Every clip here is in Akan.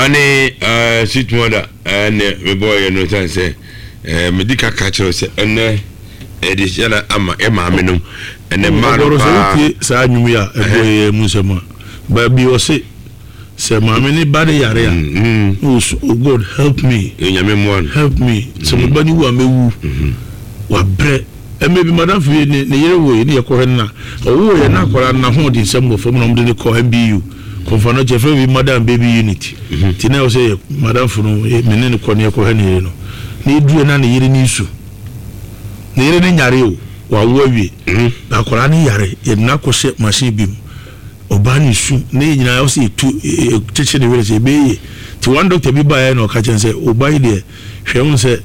Ane eh, sweet mother ɛnɛ mebɔɔyɛ no sane sɛ eh, medi ka ka kyerɛ sɛ ɛnɛ ɛde hyɛ na ama ɛ maame nom ɛnɛ mmaa no Ɔbɔrɔ sɛ paa. wotie saa nnwom yi a ɛbɔ yɛ mu nsɛm a, baabi ɔse sɛ maame ne ba ne yare a, na ɔsu, oh God help me, Nyame mmoa no. help me, sɛ me ba no wu a mɛwu, wabrɛ. Mmerɛ bi madamfo bi ne ne yere woe ne yɛkɔhwɛ no na ɔwoeɛ na akwadaa no n'ahoɔdensɛm wɔ fam na wɔde no kɔ MBU Komfo Anokye yɛfrɛ bi mother and baby unit nti na ɛwɔ sɛ yɛ madamfo no me ne no kɔ ne yɛkɔhwɛ ne yere no na yɛduruiɛ na ne yere no resu ne yere no nyare o wawo awie na akwadaa no yare yɛde no akɔhyɛ machine bi mu ɔbaa no resu na yɛn nyinaa ɛwɔ sɛ yɛtu yɛkyekyere ne werɛ sɛ ɛbɛyɛ yie nti one doctor bi baeɛ na ɔka kyerɛ no sɛ ɔba yi deɛ hwɛ wohu sɛ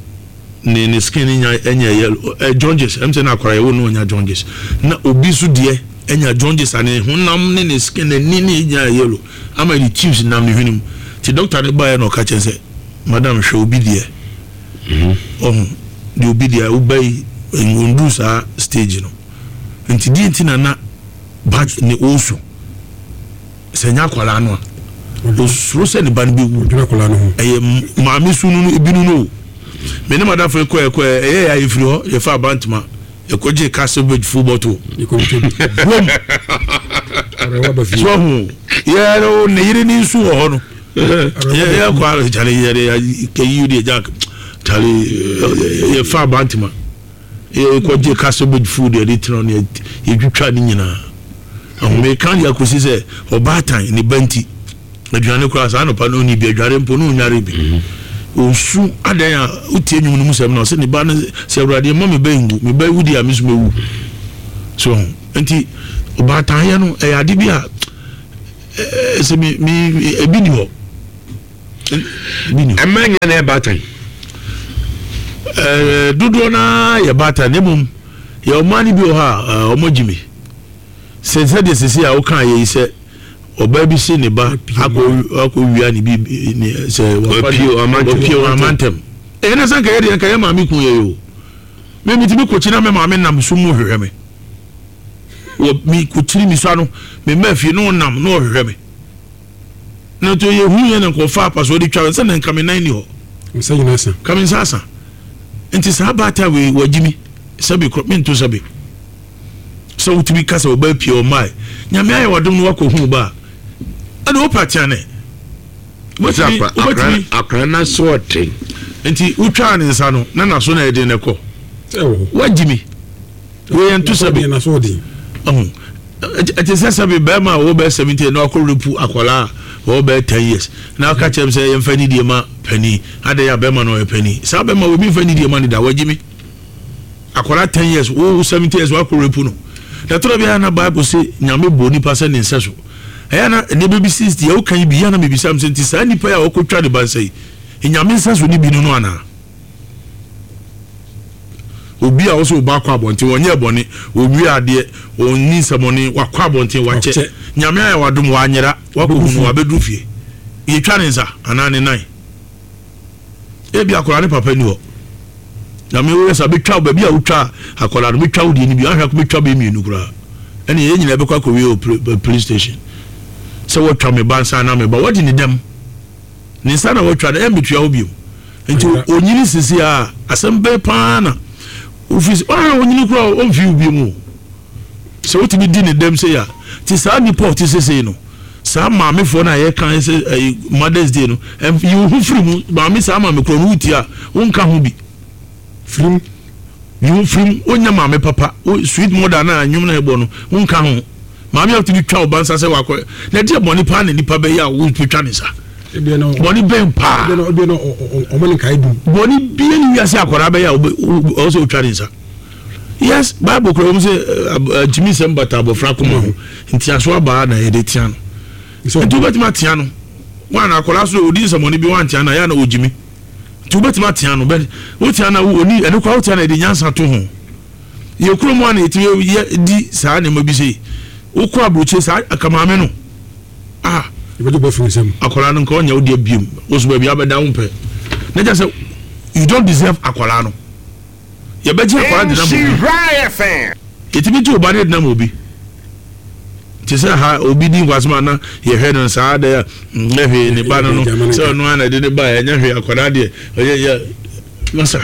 ne ne skin nya ɛnyɛ yellow ɛ jaundice ɛm sɛ na akwadaa yɛwɔ no ɔnya jaundice na obi nso deɛ ɛnya jaundice a ne honam ne ne skin n'ani ne nya yellow ama ne tubes nam ne hwene mu ti doctor ne baeɛ na ɔka kyɛn sɛ madam hwɛ obi deɛ ɔho deɛ obi deɛ woba yi ɔnduru saa stage no nti deɛ nti na na ba ne ɔresu. Sɛ ɛnyɛ akwadaa no a, osuro sɛ ne ba no bɛwu. Ɛyɛ maame su no ebi no no o. Me ne madamfo yi kɔɛ kɔɛ ɛyɛ yɛ a yɛfiri hɔ yɛfa abantema yɛkɔgye castle bridge full bottle. Boom! So ho yɛ no ne yere ne nsu wɔ hɔ no. Yɛ yɛ kɔ ara kyale yɛ yɛ kɛyi deɛ jack kyale yɛfa abantema. Yɛkɔgye cabbage food yɛde tena ne yɛtwitwa ne nyinaa. Ahomeka de akɔsi sɛ ɔbaatan ne ba nti aduane koraa saa anɔpa no ɔnni bi adware mpo na ɔnware bi. Ɔsu adɛn a wotie nnwom no mu sɛm na ɔsɛ ne ba no sɛ awurade mma me ba nwu me ba wu deɛ a me nso mɛwu. So nti ɔbaatanyɛ no ɛyɛ ade bi a sɛ me me ebi ni hɔ. Mmaa nyinaa na ɛyɛ baatan. Ɛɛ dodoɔ no ara yɛ baatan na mmom yɛ ɔmaa no bi wɔ hɔ a wɔn agyi mi sɛ sɛdeɛ sisi a woka yɛ yi sɛ ɔbaa bi si ne ba akɔ akɔ wia ne bi ne sɛ wapie wɔn amantam ɛyɛ na sɛ nka yɛ deɛ nka yɛ maame kun yɛ yi o mɛ mi ti mi kɔ kyi na mɛ maame nam sum mu hwehwɛ mi wɔ mi kɔ kyiri mi sua no mɛ mɛ fie na ɔnam na ɔhwehwɛ mi. Na nti yɛ hu yɛ na nka ɔfa apasoɔ de twa sɛ na nka me nan ni hɔ. Nsa nyina asa. Ka me nsa asa. Nti saa baata wei wagyi mi sɛbi korɔ mento sɛbi. Sɛ wotumi ka sɛ ɔba apue ɔmmae. Nyame ayɛ wadom no wakɔ hu ba a. Ɛna wopa tea ne. Wobɛtumi wobɛtumi. Akora no aso ɔden. Nti wotwaa ne nsa no na naso na ɛden na ɛkɔ. Wagyi mi. Wei yɛn to sɛbi. Ɔho ɛte sɛ sɛbi bɛrima a ɔwɔ bɛyɛ 70 na wakɔ repu akwadaa a ɔwɔ bɛyɛ 10 years na aka kyerɛ m sɛ yɛmfa nidie ma panin adɛn a bɛrima no ɔyɛ panin saa bɛrima wɔ mi mfa nidie ma ne da wagyi mi akwadaa 10 years wo 70 years wakɔ repu no na tɔrɔ bi a na bible se nyame bɔ nipa sɛ ne nsɛ so ɛyɛ na nneɛma bi si deɛ woka yi bi yɛ na mebisa m sɛ nti saa nipa yi a ɔkɔtwa ne ba nsa yi nyame nsɛ so ne bi no no anaa Obi a ɔsɛ ɔba akɔ abɔnten, ɔnyɛɛ bɔne, ɔnwie adeɛ, ɔnni nsɛmɔne, wakɔ abɔnten, wakyɛ. Nyame ayɛ wadom, wanyera, wakɔhu no, wabɛduru fie. Yɛtwa ne nsa anaa ne nan. Ebi akwadaa ne papa ni hɔ. Nyame woyɛ sa bɛtwa baabi a wotwa akwadaa no, bɛtwa wo deɛ no bi, ahwɛ akɔ bɛtwa bɛyɛ mmienu koraa. Ɛne yɛn nyinaa bɛkɔ akɔwie wɔ police station. Sɛ wɔtwa me ba nsa anaa me ba, wɔde ne dɛm. Ne nsa na watwa no, ɛmmetua hɔ bio. Nti onyini sisi a, asɛm bɛn paa na wofi sɛ ɔhwɛ onyini koraa ɔmfi wo bio mu. Sɛ wotumi di ne dɛm sei a, nti saa nipa a ɔte sesei no, saa maamefoɔ no a yɛka sɛ ɛyi Mother's Day no, yi wo ho firi mu, maame saa maame korɔ no wotie a, wonka ho bi. Firim. Yi wo firim, wonyɛ maame papa, wo sweet mother no a nnwom no a ɛbɔ no, wonka ho. Maame a wotumi twa wo ba nsa sɛ wakɔ, na ɛdeɛ bɔne paa na nipa bɛyɛ a wotumi twa ne nsa? Bɔne bɛn paa? Bɔne bia ne wiase akwadaa bɛyɛ a ɔwɔ sɛ wotwa ne nsa. Yes, Bible kura wɔn sɛ ntumi nsɛm bata abɔfra koma ho, ntiaso abaa na yɛde tea no. Nti wobɛtumi atea no. Wɔn a akwadaa so odi nsɛmɔne bi wɔn antea no a yɛ a na ɔgyimi. Nti wobɛtumi atea no bɛ wotea no a oni ɛno koraa wotea no ɛde nyansa to ho. Yɛ kurom a na yɛtumi yɛ di saa nneɛma bi sei. Wokɔ aburokyire saa akamaame no ah Yɛbɛgye bɔ firi nsam. Akwadaa no nka ɔnyɛ wo deɛ biem. Wo so baabi abɛda wo mpɛ. Na kyerɛ sɛ you don't deserve akwadaa no. Yɛbɛgye akwadaa de nam obi. Yɛtumi gye wo ba no de nam obi. Te sɛ ha obi di nkwasɛm a na yɛhwɛ no saa dɛ a nyɛ hwee ne ba no no sɛ ɔno ara na ɛde ne ba ɛnyɛ hwee akwadaa deɛ ɔyɛ yɛ masa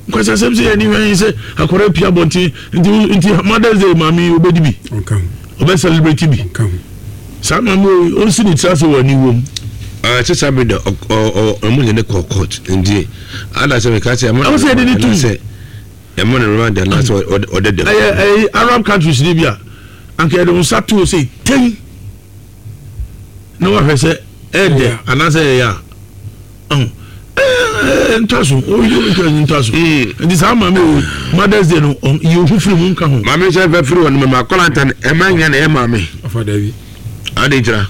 nkwasasɛm sɛ yɛni hwɛ sɛ akwadaa pia abɔnten nti nti Mother's Day maame yi obɛdi bi ɔbɛ celebrate bi saa maame yi ɔnsi ne tiri ase wɔ aniwuo mu. Sɛ saa bere de ɔmo nyɛ ne kɔ court nti ada sɛ meka sɛ ɛmo sɛ yɛde ne tum sɛ ɛmo ne remand anaasɛ ɔdɛ dɛm. Ɛyɛ ɛyɛ Arab countries ni bi a anka yɛde wo nsa to sɛ tɛn na wahwɛ sɛ ɛɛdɛ anaasɛ ɛyɛ a ɔho ɛɛ nta so oyi ntwa nta so nti saa maame o Mother's Day no yi ohu firi mu nka ho. Maame sɛ fɛ firi hɔ no mama akɔla nta no ɛma nya na ɛyɛ maame. Ɔfa dabi. Adi nkyira.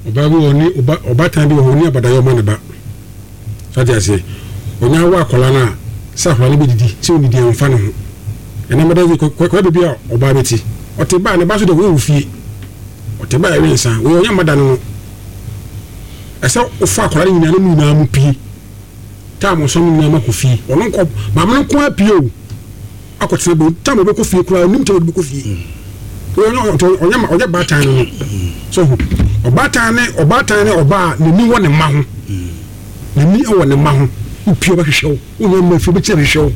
Ɔbaa bi wɔ ni ɔba ɔbaatan bi wɔ hɔ ni abadayɛ ɔma ne ba. So ate aseɛ? Ɔnya awo akwadaa no a, sɛ akwadaa no bɛdidi, sɛ ɔnnidi a, ɔmfa ne ho. Ɛnɛ mɛda dze, kɔ kɔ baabi a ɔbaa bi te. Ɔte ba a, ne ba nso deɛ wei wɔ fie. Ɔte ba a ɛwe nsa. Wei ɔnyɛ mma da no no. Ɛsɛ wofa akwadaa no nyinaa na mo nyinaa mo pie. Time ɔsɔ mo nyinaa mo akɔ fie. Ɔno nkɔ, maame no nko ara pie o. Akɔtena baabi. Time ɔbɛkɔ fie koraa, ɔnim time ɔde bɛkɔ fie. Wei ɔnyɛ ɔnyɛ ɔnyɛ baatan no no. So ho. Ɔbaatan ne ɔbaatan ne ɔbaa a n'ani wɔ ne mma ho. N'ani wɔ ne mma ho. Wopie ɔbɛhwehwɛ wo. Wonya mma fie ɔbɛkyina hwehwɛ wo.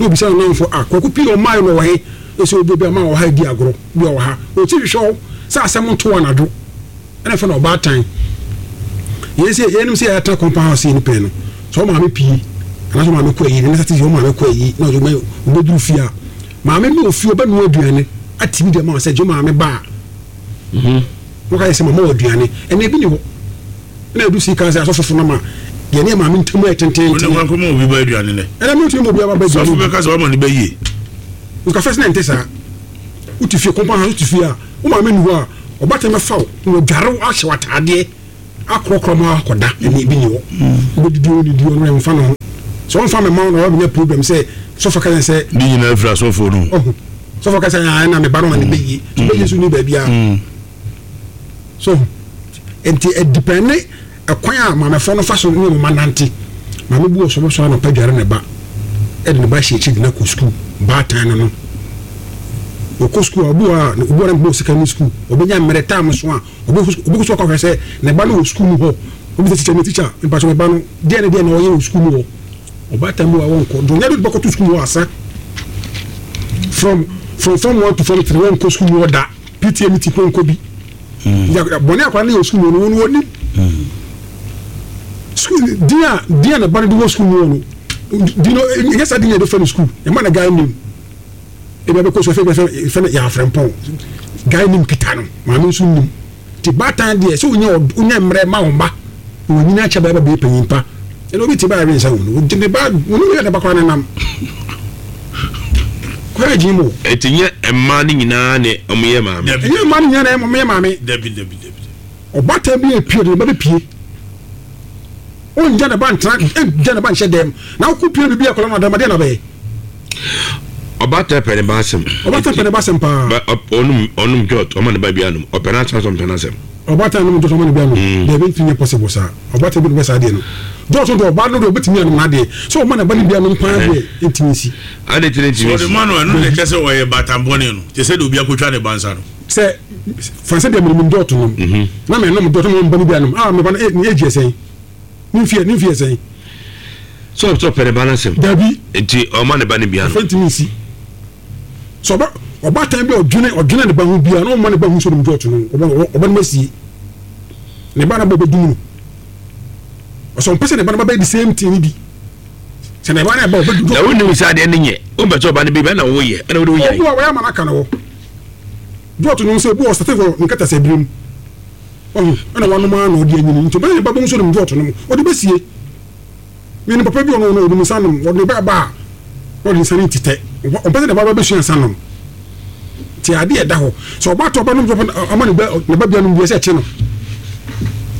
Na obisa ne nnamfo, ah, Kwaku pii ɔmmaeɛ no ɔwɔ he? Ɔsɛ obi obi ama wɔ ha redi agorɔ. Bi ɔwɔ ha. Ɔkyi hwehwɛ wo sɛ asɛm nto wo anadwo. Ɛna ɛfɛ no ɔbaatan. Yɛn sɛ yɛnim sɛ yɛatena compound house yɛ no pɛn no, sɛ wo maame pie anaasɛ wo maame kɔ ayi, ɛne sɛ wo maame kɔ ayi na ɔbɛduru fie a, maame no wɔ fie ɔbɛnoa aduane ate bi de ama wo sɛ gye wo maame ba a. Wɔka yɛ sɛ mama wɔ aduane. Ɛnna ebi ni hɔ. Ɛna edu sii kan sɛ asɔfofo no ma yɛne yɛ maame ntam ayɛ tententen. Wɔn kwan kɔma obi ba aduane nɛ. Ɛna mi ntumi ma obi aba ba aduane. Sɔfo bɛka sɛ wama ne ba yie. Nka fɛs na ɛnte saa. Wote fie kɔmpa ha wote fie a wo maame ni hɔ a ɔbatan bɛfa wo na wadware wo ahyɛ wo ataadeɛ akorɔkorɔ ma akɔda ɛne ebi ni hɔ. Wobɛdidi wo didi ɔno ɛmfa ne ho. Sɛ ɔmfa me ma wo na wabɛnya problem sɛ sɔfo ka yɛn sɛ. Ne nyinaa firi asɔfoɔ no. Ɔho. Sɔfo ka sɛ ɛna me ba no ma ne bɛyie. So bɛyie so ni baabiara. So nti ɛdipɛne ɛkwan a maamefoɔ no fa so ne wɔn mma nante. Maame bi wɔ so ɔbɛsɔre anɔpa dware ne ba, ɛde ne ba hyɛ akyiri de no akɔ sukuu, baatan no no. Ɔkɔ sukuu a, obi wɔ a, obi wɔ a na bɔ sika ne sukuu, ɔbɛnya mmerɛ time so a, ɔbɛkɔ sukuu akɔhwɛ sɛ ne ba no wɔ sukuu mu hɔ. Ɔbisa tikya ne tikya, mpakyɛ me ba no, deɛ ne deɛ na ɔyɛ wɔ sukuu mu hɔ. Ɔbaatan bi wɔ a wɔnkɔ, deɛ ɔnya de bɛkɔto sukuu mu hɔ asa. From from form one to form three, wɔnkɔ sukuu mu hɔ da. PTA meeting kura nkɔ bi. Bɔne akwadaa no yɛ wɔ sukuu mu no, wɔn wɔnim. Sukuu din a din a ne ba no de wɔ sukuu mu no, din no ɛnyɛ saa din na yɛde fɛ no sukuu. Ɛma na guy name. Ebi abɛkɔ sukuu ɛfɛ fɛ fɛ no yɛ afrɛmpɔn. Guy name kita no, maame nso nim. Ti baatan deɛ sɛ wonya wonya mmerɛ ma wɔn ba na wɔnyini akyɛ bɛyɛ bɛyɛ panyin pa. Ɛna obi ti ba ɛwe nsa wɔn no, wɔde ne ba wɔn yɛ ne ba koraa ne nam. Kɔyɛ gyin mu. Eti nyɛ mmaa no nyinaa ne wɔn yɛ maame. Ɛnyɛ mmaa no nyinaa na wɔn yɛ maame. Dabi dabi dabi. Ɔbaatan bi epie ɔde ne ba bepie. Ongya ne ba ntena ngya ne ba nhyɛ dɛm. Na wokɔ pie bibi akɔla no adam adeɛ na bɛyɛ. Ɔbaatan pɛ ne ba asɛm. Ɔbaatan pɛ ne ba asɛm paa. Ɔnum ɔnum jɔt ɔma ne ba bi anum ɔpɛ n'asɛm asɛm ɔmpɛ n'asɛm. Ɔbaatan nom jɔt ɔma ne ba anum. Dabi ntumi nyɛ possible saa. Ɔbaatan bi na ɔbɛ saa adeɛ no. Jɔt no deɛ ɔbaa no deɛ ɔbɛtumi anom n'adeɛ. Sɛ ɔma ne ba no bi anom paa deɛ ntumi nsi. Ade tiri ntumi nsi. Sɛ ɔde ma no a, ɛno na ɛkyerɛ sɛ ɔyɛ baatan bɔne no, te sɛ deɛ obi akɔtwa ne ba nsa no. Sɛ fa sɛ deɛ menim dɔɔto nom mhm. na menom dɔɔto na meba no bi anom a meba no eh, ne age yɛ sɛn ne mfeɛ ne mfeɛ sɛn. Sɛ ɔsɛ ɔpɛ ne ba no asɛm. Dabi. Nti ɔma ne ba no bi anom. Ɔfɛ ntumi nsi. Sɛ ɔba ɔbaatan bi a ɔdwene ɔdwene ne ba ho biara na ɔma ne ba ho sɛ ɔnom dɔɔto no ɔba ɔba no ma sie ne ba no ba bɛdum no ɔsɛ ɔmpɛ sɛ ne ba no ba bɛyɛ the same thing bi. Sɛ ne ba no ɛba ɔbɛdum. Na wonim sɛ adeɛ no nyɛ wompɛ sɛ ɔba no bi bɛ na woyɛ ɛna wode woyɛ. Ɔbu a wɔyɛ ama no aka no hɔ. Dɔɔto nom sɛ ebi wɔ ɔsate wɔ ne nkatasɛ bere mu. Wahu? Ɛna wanom ara na ɔde anyini. Nti ɔbɛyɛ ne ba bɛhu sɛ ɔnom dɔɔto nom. Ɔde bɛsie. Me nim papa bi ɔno ɔno ɔnom nsa nom. Ɔde ne ba ba a, na ɔde nsa no tetɛ. Ɔmpɛ sɛ ne ba ba bɛsua nsa nom. Nti adeɛ ɛda hɔ. Sɛ ɔba tɔ ɔba nom dɔɔto ama ne ba ne ba bia nom bi ɛsɛ ɛkye no.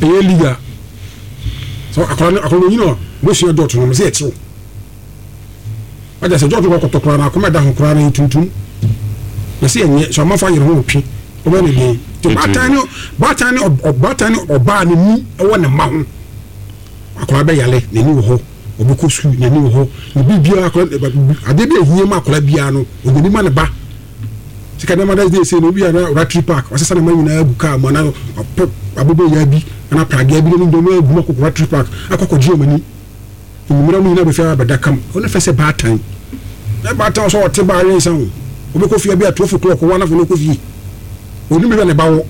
Ɛyɛ legal. Sɛ akwadaa no akwadaa no onyini a, ɔbɛsua dɔɔto nom sɛ ɛkye wo. Wagya sɛ George kɔ kɔtɔ koraa no akoma ɛda ho koraa no yɛ tuntum. Na sɛ ɛnyɛ sɛ ɔmanfo ayere ho ɔtwe ɔbɛyɛ ne den. Nti ɔbaatan ne ɔbaatan ne ɔbaatan ne ɔbaa ne ni ɛwɔ ne mma ho. Akwadaa bɛyale n'ani wɔ hɔ, ɔbɛkɔ sukuu n'ani wɔ hɔ, ne biribiara akwadaa adeɛ bi a ehia ma akwadaa biara no ɔnya bi ma ne ba. Sika na Mother's Day sei no obi a na Ratri Park wasesa ne mma nyinaa agu kaa mu anaa wapɛ aboboyaa bi anaa pragea bi na ne nyinaa agu mu akɔ Ratri Park akɔ akɔgye wɔn ani. Enyimmerɛ wɔn nyinaa bɛfi abɛda kam. Ɔno fɛ sɛ baatan. Na baatan sɛ ɔte baa awe nsa o. Ɔbɛkɔ fie bi a 12 o'clock wɔ anafo no kɔ fie. Ɔnim baabi a ne ba wɔ.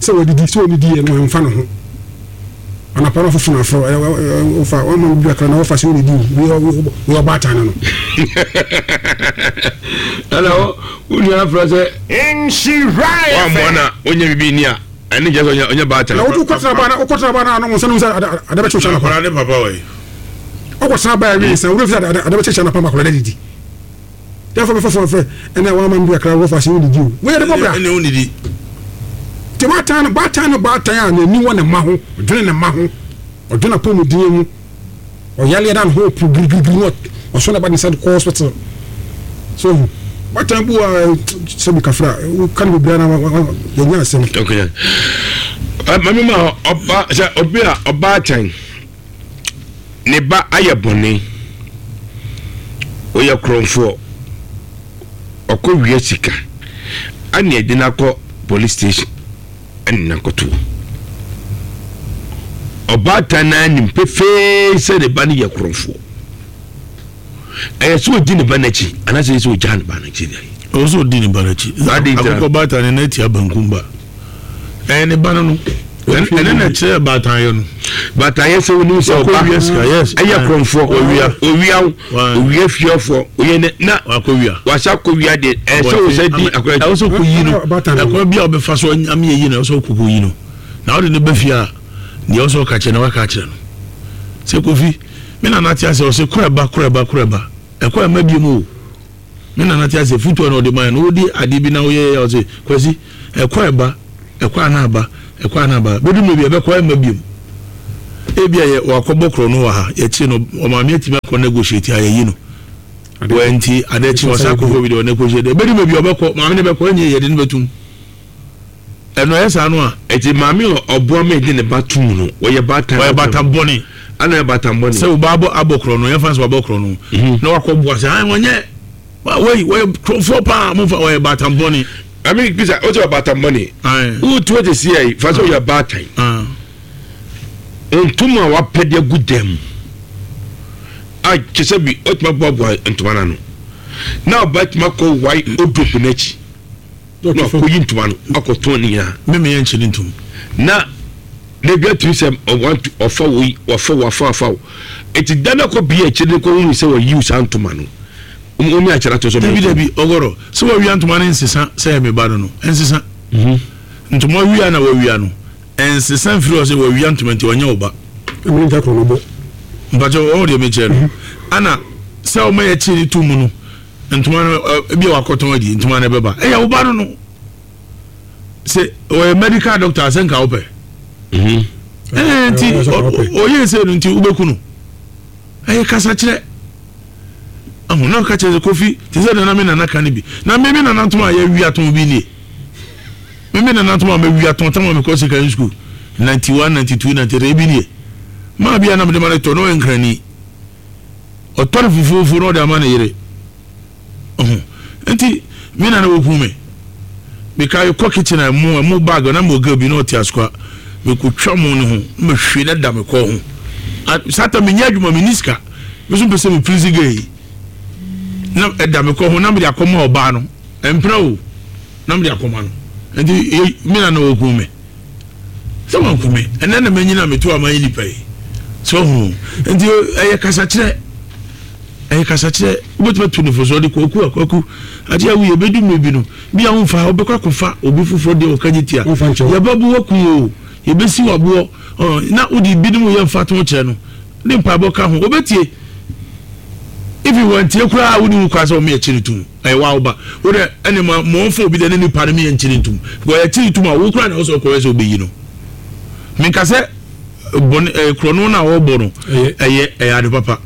Sɛ wadidi sɛ ɔnidi yɛ no ɛmfa ne ho. Anapa no afoforo afrɛ wofa wama no bi kakra na wɔfa sɛ ɔnidi o. Woyɛ ɔbaatan no no. Ɛna wo nua afrɛ sɛ wammɔ na ɔnya biribi ni a ɛne kyerɛ sɛ ɔnyɛ baatan. Na wokɔtena baa na wokɔtena baa na anom nsa nom sɛ ade bɛkye wo anapa. Ne papa wɔ yi. Wokɔtena baa awie nsa wura fi sɛ ade bɛkye anapa ma akwadaa no adidi. Therefore bɛfa fon frɛ ɛna wama me bi kakra wɔfa sɛ wonidi o. Wei yɛde bɔ bra. Ɛne wonidi. Nti baatan no baatan no baatan a n'ani wɔ ne mma ho ɔdwene ne mma ho ɔdwene apɔmuden ho ɔyaleɛ na ne ho po girigirigiri na ɔsɔ ne ba ne nsa de kɔ hospital. So hu baatan bu a sɛbi kafra woka no bebree na yɛnya asɛm. Okay. Mami ma ɔba sɛ obi a ɔbaatan ne ba ayɛ bɔne, ɔyɛ korɔmfoɔ, ɔkɔ wia sika, ɛna yɛde no akɔ police station ɛne no akɔto hɔ. Ɔbaatan no ara nim pefee sɛ ne ba no yɛ korɔmfoɔ. Ɛyɛ sɛ ɔdi ne ba no akyi anaasɛ ɛyɛ sɛ ɔgyaa ne ba no akyi deɛ? Ɛwɔ sɛ ɔdi ne ba no akyi. Akokɔ baatan no n'atia bankum ba. Ɛyɛ ne ba no no. Ɛne na ɛkyerɛ baatanyɛ no. Baatanyɛ sɛ wonim sɛ ɔba ɛyɛ korɔmfoɔ owia owia owia fiafoɔ oyɛ ne na wasa akɔwia deɛ ɛyɛ sɛ wosɛ di akɔyɛ. Ɛwɔ sɛ ɔkɔyi no ɛkwan bi a ɔbɛfa so ame yɛ yi no ɛwɔ sɛ ɔkɔkɔyi no na ɔde no ba fie a deɛ ɛwɔ sɛ ɔka kyerɛ no waka akyerɛ no sɛ Kofi Me nana te ase ɔse kɔ ɛba kɔ ɛba kɔ ɛba ɛkɔ ɛma biom o me nana te ase futuo na ɔde ma yɛ no wodi adeɛ bi na woyɛ yɛ ɔse kwasi ɛkɔ ɛba ɛkɔ ana aba ɛkɔ ana aba bɛdu mmerɛ bi ɛbɛkɔ ɛma biom ebi a yɛ wakɔbɔ korɔ no wɔ ha yɛkye no ɔmaame atumi akɔ negotiate a yɛyi no wɔ nti adeɛ kye ɔsa akɔfo bi deɛ ɔnegotiate ɛbɛdu mmerɛ bi ɔbɛkɔ maame no bɛkɔ ɛnyɛ yɛde no bɛtum Ɛno ɛyɛ saa no a. Eti maame a ɔboa ma yɛde ne ba to mu no, ɔyɛ baatan. Ɔyɛ baatan bɔne. Ana ɔyɛ baatan bɔne. Sɛ ɔba abɔ abɔ korɔ no, yɛmfa no sɛ wabɔ korɔ no, mhm. na wakɔ boa sɛ, ayi wɔnyɛ, wɔyi wɔyɛ korɔfoɔ paa, mo fa ɔyɛ baatan bɔne. Ami bisa, o sɛ ɔyɛ baatan bɔne. Wotu ɔte si yɛ, fa sɛ ɔyɛ baatan. Ntoma a wapɛ de agu dan mu a kyɛ sɛ bi ɔtuma boaboa ntoma no ano na ɔba tuma kɔ wae odrop n'akyi. Na wakɔyi ntoma no akɔtɔn ne nyinaa. Me meyɛ nkyɛ ne ntom. Na na bi atumi sɛ ɔwantu ɔfa wo yi wafa wo wafa wafa wo eti da no akɔ bia akyire no kɔ hunu sɛ wayi saa ntoma no wɔn ne akyerɛ ato so. Dabi dabi ɔgɔrɔ sɛ wawia ntoma no nsesa sɛ ɛyɛ me ba no no ɛnsesa mhm. ntoma wia na wawia no ɛnsesa mfiri hɔ sɛ wawia ntoma nti ɔnyɛ wo ba. Ɛmɛ nta kɔn no bɔ. Mpakyɛ ɔwɔ deɛ mekyerɛ no mhm. ana sɛ ɔma yɛ kyerɛ ne tu mu no. Ntoma no ebi a wakɔtɔn adi ntoma no ɛbɛba ɛyɛ wo ba no no sɛ ɔyɛ medical doctor asɛ nka wopɛ mhm. ɛɛ nti ɔyɛ sɛ no nti wobɛku no ɛyɛ kasa kyerɛ ahu na ɔka kyerɛ sɛ kofi te sɛ nana me nana ka no bi na me me nana ntoma a yɛawi atɔn bi nie me me nana ntoma a mawi atɔn tam a mekɔ secondary school 91 92 93 ebi nie maa bi a na mede ma no tɔ na ɔyɛ nkrani Ɔtɔ no fufuofuo na ɔde ama ne yere. Ɔho. Nti, me na na wɔku me. Meka kɔ kitchen a ɛmo, ɛmo bag na mewɔ girl bi na ɔte asoka. Mekɔtwa mo ne ho, na mahwie na da me kɔn ho. Saa ta menyɛ adwuma, menni sika. Me nso mpɛ sɛ me please girl yi. Na ɛda me kɔn ho na mede akɔma ɔbaa no. Ɛmpena o, na mede akɔma no. Nti, me na na wɔku me. Sɛ wanku me, ɛnɛ na manyin a meto a mayɛ nipa yi. So ho nti ɛyɛ kasakyerɛ, ɛyɛ kasakyerɛ. Wobɛtumi atu ne fo so ɔde kwaku a kwaku adeɛ a woyɛ bɛdu mmerɛ bi no bi a womfa wobɛkɔ akɔfa obi foforɔ deɛ ɔka gye tia yɛbɛbo waku o yɛbɛsi waboɔ na wode binom yɛ mfatoho kyerɛ no ne mpaebɔ ka ho wobɛtie even wantie koraa wone wo koraa sɛ wɔn yɛ kyere tum. Ɛyɛ wa wo ba. Wo dɛ ɛne ma ma ɔnfa obi dɛ ne nipa no meyɛ nkyere ntum. Because yɛkyere tum a wo koraa na ɛwɔ sɛ ɔkɔyɛ sɛ ɔbɛyi no. Menka sɛ bɔne ɛɛ korɔno no a ɔrebɔ no ɛyɛ ɛyɛ ade papa.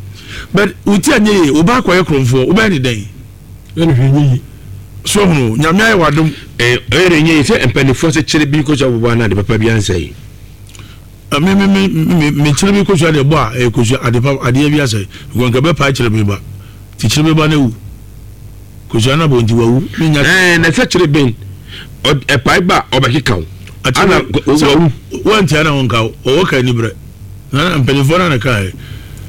But wo ti anyɛ yie, wo ba akɔyɛ korɔmfoɔ, wobɛyɛ ne dɛn? Ɛne hwee nyɛ yie. So ahunu o, Nyame ayɛ w'adom. Ɛyɛ ne nyɛ yie sɛ mpanimfoɔ sɛ kyere bi kɔsua bɔbɔ anaa ade papa bi ansɛe. Me me me me me kyere bi kosua deɛ bɔ a ɛyɛ kosua ade pa adeɛ bi asɛe. Because nka ɛbɛpae kyere me ba. Ti kyere me ba no awu. Kosua no abɔ nti wawu. Menya. Ɛɛ na ɛsɛ kyerɛ bɛn ɛpae ba a ɔbɛkeka wo. Ana wawu. Wantia na ɔnka wo ɔwɔ ka ani brɛ. Na mpanimfoɔ no na kae.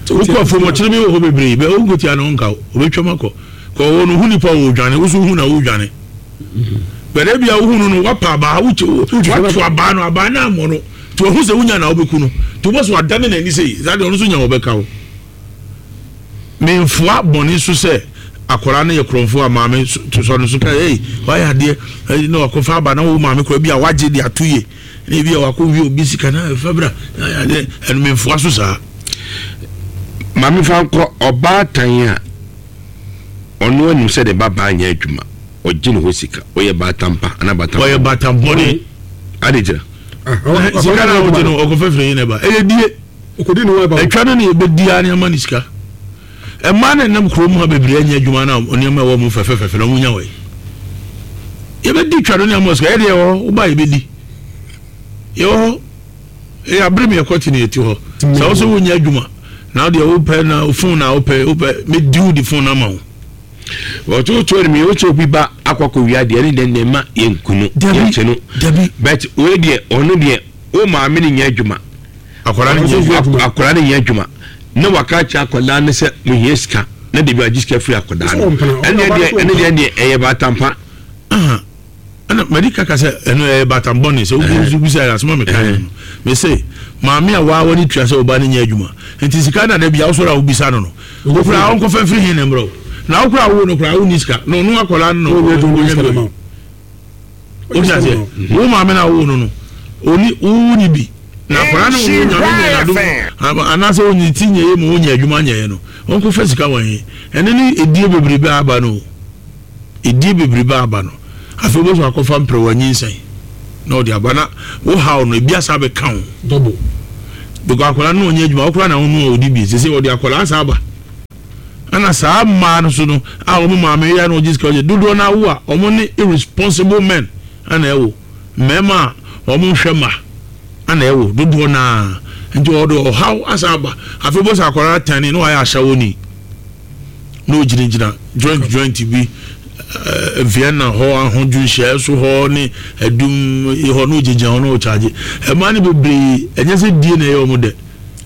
Wokɔ afuom ɔkyere bi wɔ hɔ bebree bɛ wonkotia na ɔnka wo ɔbɛtwam akɔ. Kɔ ɔwɔ no hu nipa wɔ odwane wo so hu na wodwane. Bɛrɛ bi a wohu no no wapa abaa wato abaa no abaa no ammɔ no nti wahu sɛ wonya na wobɛku no nti wobɔ so adane n'ani sei saa deɛ ɔno nso nya wɔbɛka wo. Memfoa bɔne so sɛ akwadaa no yɛ korɔmfoɔ a maame sɔ no so ka ei wayɛ adeɛ na wakɔfa aba na wo maame koraa bi a wagye de ato yie na ebi a wakɔ wie obi sika na ɛfa bra na ayɛ adeɛ ɛno memfoa so saa. Maame fa nkɔ ɔbaatan a ɔno anim sɛ ne ba baa nyɛ adwuma ɔgye ne hɔ sika ɔyɛ baatan pa anaa baatan ɔyɛ baatan bɔne ade gyina ah, sika na ɔgye no ɔkɔfɛ firi yi na ɛba ɛyɛ die Ɔkɔdi ne ho aba o. Atwa no na yɛbɛdi ara ne ama no sika. Mmaa no nam kurom ha bebree anya adwuma na nneɛma ɛwɔ mu fɛfɛfɛfɛ na wɔnya wɔ yi. Yɛbɛdi twa no ne ama sika. Yɛde yɛwɔ hɔ, woba yɛbɛdi. Yɛwɔ hɔ. Ɛyɛ abere mi ɛkɔ te ne yɛte hɔ. Sɛ wo sɛ wonya adwuma na wodeɛ wopɛ na phone na wopɛ wopɛ mɛdi wo de phone ama wo. Wɔtotoɔ no mmienu sɛ obi ba akɔ akɔwia deɛ ɛne deɛ ne ma yɛnku no yɛnkye no. But wei deɛ ɔno deɛ wo maame no nyɛ adwuma. Akwadaa no nyɛ adwuma. Akwadaa no nyɛ adwuma. Na waka akyerɛ akwadaa no sɛ mehia sika na debi agye sika firi akwadaa no. Ɛne deɛ ɛne deɛ deɛ ɛyɛ baatampa. Ɛna madi kaka sɛ ɛno ɛyɛ baatam bɔne sɛ wobi bisa yɛ asoma meka no no. Mese maame a waa wani tua sɛ ɔba no nyɛ adwuma. Nti sika na da bia wosɔre a wobisa no no. Wokura ɔnkɔfa mfiri he na mmerɛ wo. Na wokura wo no kura wonni sika. Na ɔno akwadaa no na ɔnyɛ bi. Wote aseɛ? Wo maame na wo no no, oni wo ni bi. Na akwadaa no wo nyame nyɛ n'adom anaasɛ onyi ti nyɛ yɛ mu wonya adwuma nyɛɛ no, ɔnkɔ fa sika wɔ he? Ɛno ne edie bebrebe aba no o. Edie bebrebe aba no. Afei wobɛsɔ akɔfa mprɛwa nyinsɛn na ɔde aba na wo haw no ebi asa abɛka wo. Double. Because akwadaa no ɔnyɛ adwuma, wo koraa na wo no a ɔdi bi. Sese ɔde akwadaa asa aba. Ɛna saa mmaa no so no a wɔn maame yɛ na wɔgye sika wɔgye dodoɔ no awo a wɔn ne irresponsible men ɛna ɛwo mmarima a wɔn nhwɛ mma ɛna ɛwo dodoɔ no ara nti wɔde ɔhaw asa aba afei bɔ sɛ akwadaa tɛne na wɔayɛ ahyɛwoni na ogyinagyina joint joint bi eh, Vienna hɔ ahodwo nhyiaeɛ so hɔ ne adum hɔ na ogyinagyina hɔ na ɔkyagye mmaa no bebree ɛnyɛ sɛ die na ɛyɛ wɔn dɛ.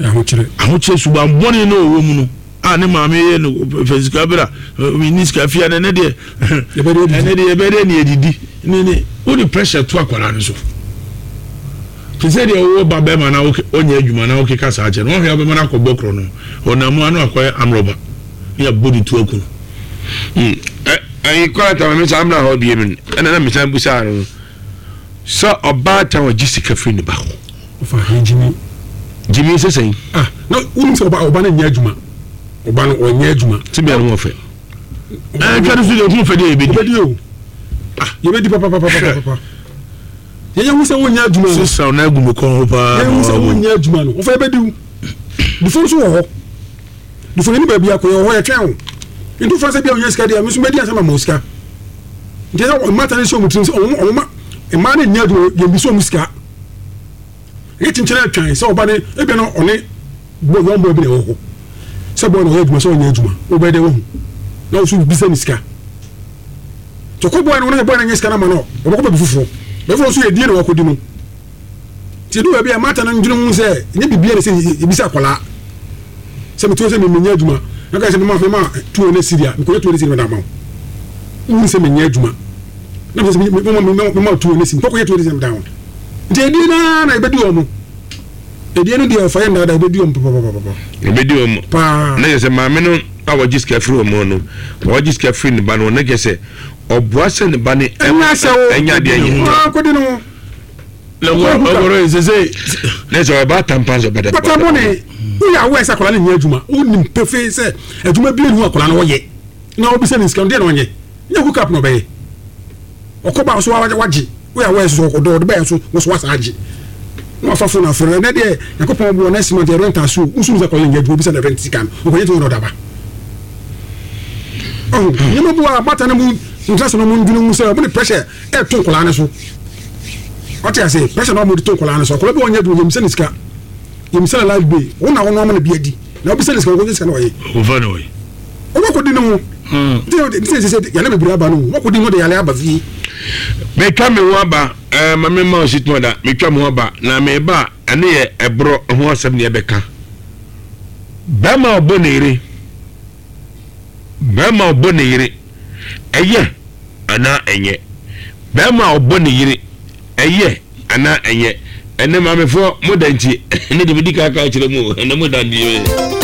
Ahokyerɛ. Ahokyerɛ suban bɔne na ɔwɔ mu no a ne maame yɛ no fɛ sika bra menni sika fia no ɛnɛ deɛ ɛnɛ deɛ yɛbɛyɛ dɛ ne yɛdidi ne ne wode pressure to akwadaa no so te sɛ deɛ wowɔ ba bɛrima na ɔnyɛ adwuma na wokeka saa kyɛ no wɔhwɛ wobɛma no akɔbɔ korɔ no ɔnam mu ano akɔyɛ amrɔba ne yɛabɔ ne tu aku no ɛyi kɔla tama me saa mena hɔ bie mu ɛna na mesan busaa no Sɛ ɔbaatan ɔgye sika firi ne ba hɔ. Ɔfa he gyimi. Gyimi sɛ sɛn? Ah, na wonim sɛ ɔba ɔba no nyɛ adwuma. Ɔba no ɔnyɛ adwuma. Tebea no ho ɔfɛ. Ɛɛ twa no so deɛ ho fɛ deɛ yɛbɛdi. Yɛbɛdi o. Ah, yɛbɛdi papapapapapa. Yɛyɛ hu sɛ wonyɛ adwuma no. Sisan na agu me kɔn ho paa. Yɛyɛ hu sɛ wonyɛ adwuma no. Ɔfa yɛbɛdi wo. Dufo nso wɔ hɔ. Dufo yɛne baabi akɔ yɛwɔ hɔ yɛtwɛn wo. Nti wofa sɛ bia wonya sika deɛ me nso mɛdi ansa ma ma wo sika. Nti ɛsɛ mmata no hyɛ wɔn tirim sɛ wɔn wɔn ma mmaa no nyɛ adwuma yɛn bi sɛ wɔn sika. Ɛyɛ kyinkyin atwan sɛ ɔba ne ebia na ɔne bɔ yɔn bɔ bi na ɛwɔ hɔ sɛ bɔɔ na ɔyɛ adwuma sɛ ɔnyɛ adwuma wobɛyɛ dɛ wahu na wo so bisa ne sika. Nti ɔkɔ bɔɔ no wɔn bɔɔ no nyɛ sika no ama no ɔbɛkɔ baabi foforɔ baabi foforɔ nso yɛ die na wakɔdi no. Nti edu baabi a mmata no ndwene ho sɛ ɛnyɛ biribiara na ɛsɛ yɛbisa akwadaa. Sɛ mete hɔ sɛ menyɛ adwuma na ka sɛ mema mema 200 cedi a mekɔnya 200 cedi mede ama wo. Wohunu sɛ menyɛ adwuma na mesɛ mema mema 200 cedi mekɔkɔnya 200 cedi mede ama wo. Nti ɛdie no ara na ɛbɛdi wɔn. Ɛdie no deɛ ɔfa yɛ nnaadaa ɛbɛdi wɔn papapapapa. Ɛbɛdi wɔn paa. Na kyerɛ sɛ maame no a wɔgye sika firi wɔn no, wɔgye sika firi ne ba no na kyerɛ sɛ ɔboa sɛ ne ba no ɛnyɛ adeɛ nyɛ. Akɔdi ne ho. Ne sɛ ɔba atampa nso bɛda. Bata bɔne woyɛ aware sɛ akwadaa no nyɛ adwuma wonim pefee sɛ adwuma bi nhu akwadaa no ɔyɛ na wobisa ne sika no deɛ na ɔnyɛ nyɛ hook up na ɔbɛyɛ ɔkɔ ba so wagye woyɛ aware so ɔdɔ ɔde bɛyɛ so wo so wasa agye na wafa phone afrɛ no ɛnɛ deɛ Nyankopɔn boɔ next month yɛ rent aso wosu sɛ akwadaa no nyɛ adwuma obisa ne rent sika no ɔkɔgye to na ɔde aba ɔho nneɛma bu a bata no mu ntra sɛ no mu ndwene mu sɛ ɔmo de pressure ɛto nkwadaa no so ɔte ase pressure na wɔde to nkwadaa no so akwadaa bi wɔnyɛ adwuma yɛmisa ne sika yɛmisa ne life bill wɔn na wɔn ama no bi adi na wɔbisa ne sika wɔkɔgye sika na ɔyɛ wɔfa ne ɔyɛ wɔkɔdi ne ho. Nti sɛ sɛ yale bebree aba no wakɔdi ho de yale aba fie. Metwa me ho aba ɛɛ ma me ma osi tuma da metwa me ho aba na meba a ɛno yɛ ɛborɔ ho asɛm ne ɛbɛka bɛrima ɔbɔ ne yere bɛrima ɔbɔ ne yere ɛyɛ anaa ɛnyɛ bɛrima ɔbɔ ne yere ɛyɛ anaa ɛnyɛ ɛnɛ maamefoɔ mo da nti ɛnɛ de medi kaka kyerɛ mu ɛnɛ mo da nti.